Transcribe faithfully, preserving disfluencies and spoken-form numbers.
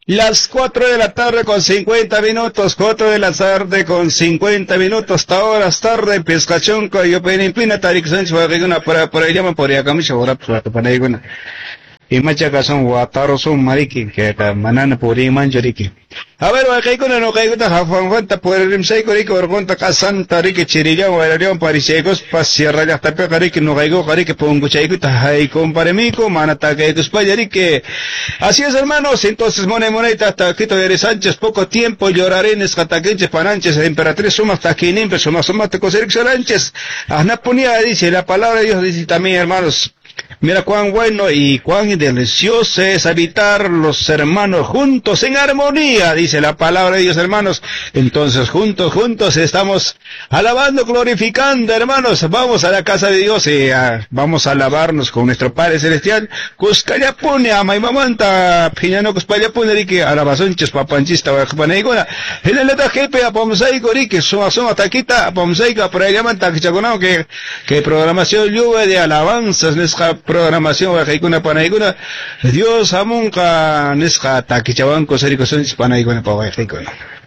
Las cuatro de la tarde con cincuenta minutos, cuatro de la tarde con cincuenta minutos, hasta horas tarde, pescachonco, yo penimpina, tarik sánchez, para por ahí llaman por acá, ahora pues, Imacha son watarosun mariki, que manana purimancho riki. A ver, waqaykuna nuqaykuna hafanfanta purimsayku riki urqunta qasanta riki chirillawan wayrariwan parishaykuspa sierra llaqtapiqa riki nuqaykuqa riki punkuchaykuta haykumparimiku mana takaykuspalla riki. Así es, hermanos, entonces monay monayta taquito Yari Sánchez, poco tiempo lloraré nisqa takinchis pananchis emperatriz sumaq takininpi sumaq sumaqta kusiriksaranchis. Asnapunía dice la palabra de Dios dice también, hermanos. Mira cuán bueno y cuán delicioso es habitar los hermanos juntos en armonía, dice la palabra de Dios, hermanos. Entonces, juntos, juntos estamos alabando, glorificando, hermanos. Vamos a la casa de Dios y uh, vamos a alabarnos con nuestro Padre Celestial. Kuskallapuni, amaymamanta, phiñanakuspallapuni, riki, alabazunchis, papanchista, waqpanaykuna. Hinallataq kaypi apamusayku, riki, suma suma takita, apamusayku, por ahí llaman takichakunawan que, que programación lluvia de alabanzas, nisqa programación waqaykuna panaykuna Dios hamunqa nisqa takichawanku sarikusunchis panaykuna pa waqaykuna.